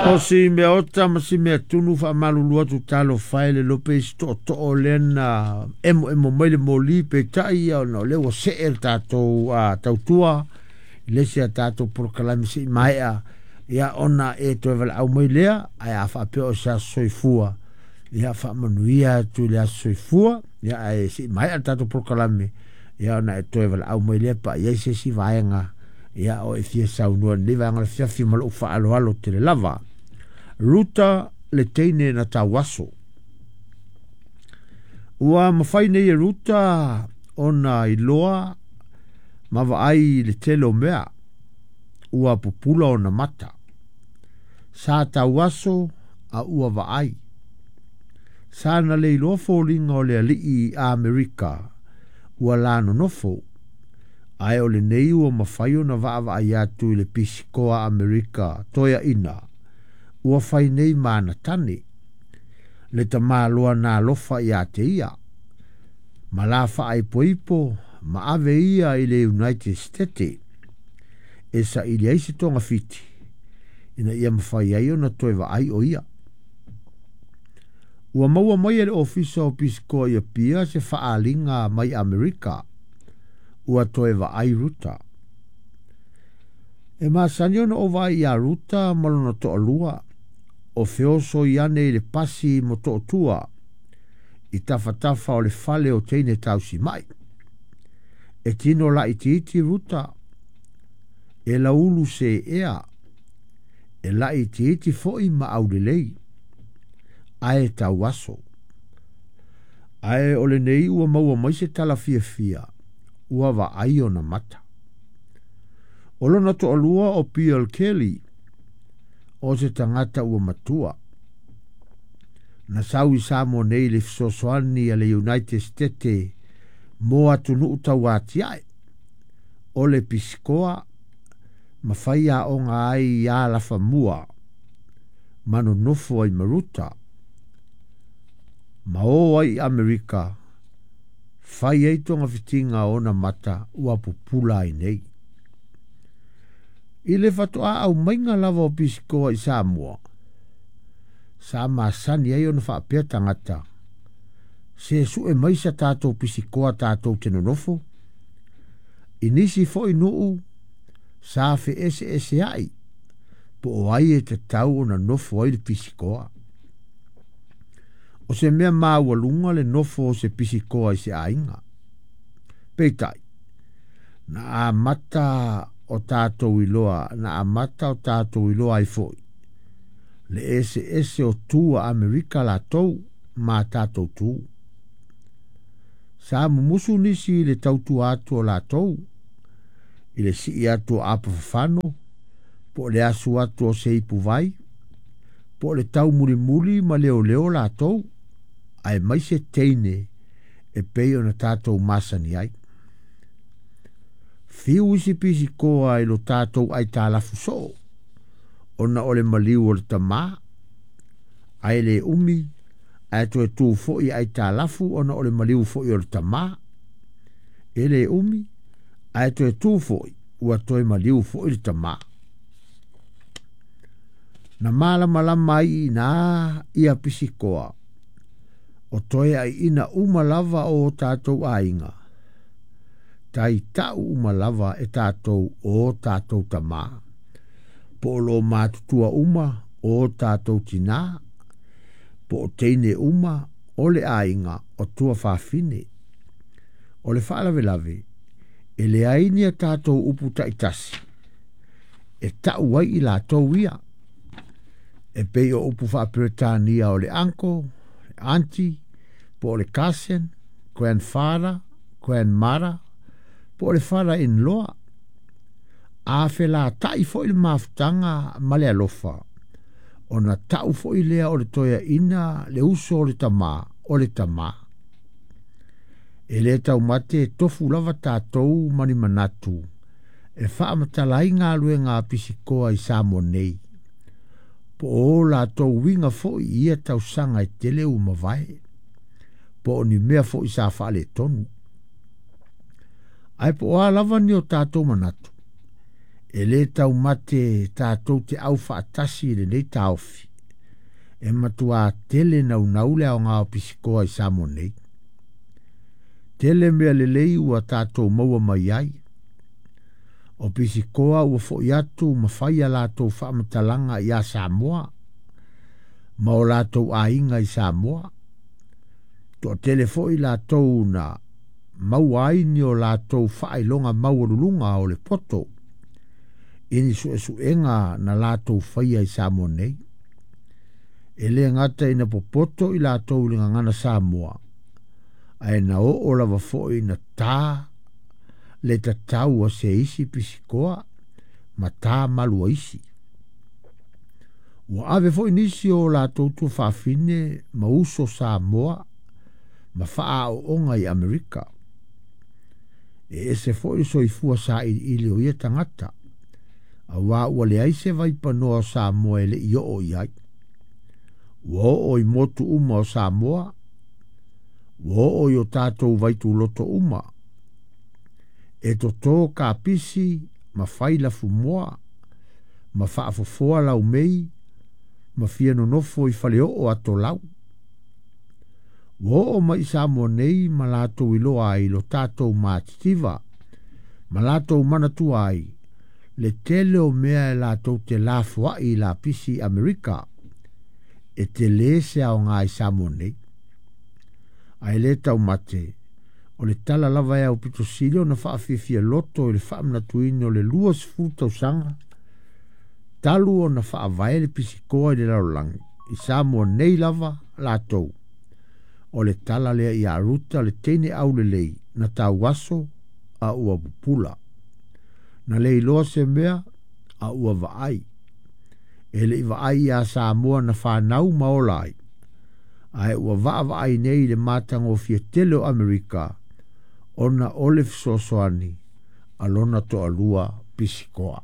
O si mea ota ma si mea tunu faamalulu atu talofa e le iloa pe i se tootoo lea na emoemo mai le moli peitai ia ona o lea ua see le tatou tautua i le isi a tatou polokalame se'i maea ia ona e toe valaau mai lea ae a faapea o se aso soifua ia faamanuia atu i le aso soifua ia ae se'i maea le tatou polokalame ia ona e toe valaau mai lea pa i ai se isi vaega ia o e fia saunoa i lenei vaega o le afiafi ma lou faaaloalo tele lava. Ruta le teine na tauaso. Ua mafai nei e Ruta ona iloa ma vaai i le tele o mea ua pupula ona mata. Sa tauaso a ua vaai. Sa na le iloa foliga o le alii Amerika ua la nonofo, ae o lenei ua mafai ona vaavaai atu i le pisikoa Amerika toeaina ua fai nei ma ana tane, le tamaloa na alofa ia te ia, ma la faaipoipo ma ave ia i le United States e saili ai se togafiti ina ia mafai ai ona toe vaai o ia. Ua maua mai e le Ofisa o Pisikoa i Apia se faaaliga mai Amerika ua toe vaai Ruta. E masani ona ou vaai ia Ruta ma lona toalua o feoso i ane i le pasi mo Motootua i tafatafa o le fale o teine tausimai. E tino laitiiti Ruta, e laulu se ea, e laitiiti foi ma aulelei, ae tauaso. Ae o lenei ua maua mai se tala fiafia, ua vaai ona mata. O lona toalua o Bill Kelly, o se tagata ua matua. Na sau i Samoa nei le fesoasoani a le United States mo atunuu tauatiae, o le pisikoa ma fai aoga ai ia alafamua ma nonofo ai ma Ruta. Ma o ai i Amerika, fai ai togafitiga o ona mata ua pupula ai nei. I le faatoa aumaiga lava o pisikoa i Samoa, sa masani ai ona faapea tagata, se sue mai sa tatou pisikoa tatou te nonofo. I nisi foi nuu, sa feeseeseai, po o ai e tatau ona nofo ai le pisikoa. O se mea maualuga le nofo o se pisikoa i se aiga. Peitai, na amata o tatou iloa, na amata o tatou iloa ai foi, le eseese o tu a Amerika latou ma tatou tu. Sa mumusu nisi i le tautua atu o latou, i le sii atu o apa fafano, po o le asu atu o se ipuvai, po o le taumulimuli ma leoleo latou, ae mai se teine e pei ona tatou masani ai. Fiu isi pisikoa i lo tatou aitalafu soo, ona o le maliu o le tamā, ae le umi, ae toe tu foi aitalafu ona o le maliu foi o le tamā. E le umi, ae toe tu foi, ua toe maliu foi le tamā. Na malamalama ai i nā ia pisikoa, o toe aiina uma lava o tatou aiga, taitau uma lava e tatou o tatou tamā. Po o lo matutua uma o tatou tinā, po o teine uma o le aiga o tua fafine. O le faalavelave, e leai ni a tatou upu taitasi, e tau ai i latou ia. E pei o upu faaperetania o le uncle, le auntie, po o le cousin, grandfather, grandmother, po o le father-in-law. A felatai foi le mafutaga ma le alofa, ona tau foi lea o le toeaina le uso o le tamā, o le tamā. E le taumate e tofu lava tatou ma ni manatu, e faamatala ai galuega a pisikoa i Samoa nei. Po o latou uiga foi i ia tausaga e tele ua mavae, po o ni mea foi sa faaletonu. Ae po o a lava ni o tatou manatu, E lē taumate tatou te aufaatasi i lenei taofi, e matuā tele naunau le aoga o pisikoa i Samoa nei. Tele mea lelei ua tatou maua mai ai. O pisikoa ua foʻi atu ma fai a latou faamatalaga iā Samoa ma o latou aiga i Samoa. Toatele foi latou na maua ai ni o latou faailoga maualuluga o le poto i ni suesuega na latou faia i Samoa nei. E lē gata ina popoto i latou i le gagana Samoa, ae na oo lava foi ina tā le tatau a se isi pisikoa ma tā malu a isi. Ua ave foi nisi o latou tuafafine ma uso Samoa ma faaaooga i Amerika. E ese foi le soifua sailiili o ia tagata, auā ua leai se vaipanoa o Samoa e le i oo i ai. Ua oo i motu uma o Samoa, ua oo i o tatou vaituloto uma. E totō kapisi ma fai lafumoā, ma faafofoa laumei, ma fia nonofo i faleoo atolau. Ua oo mai i Samoa nei ma latou iloa ai lo tatou matitiva, ma latou manatua ai le tele o mea e latou te lafoai i lapisi i Amerika, e telē se aoga i Samoa nei. Ae lē taumate, o le tala lava e aupito sili ona faafiafia loto i le faamanatuina o le 20 tausaga talu ona faavae le pisikoa i le lalolagi, i Samoa nei lava latou. O le tala lea ia Ruta le teine aulelei na tauaso a ua pupula. Na le iloa se mea a ua vaai. E le i vaai iā Samoa na fanau ma ola ai, ae ua vaavaai nei i le matagofie tele o Amerika ona o le fesoasoani a lona toalua pisikoa.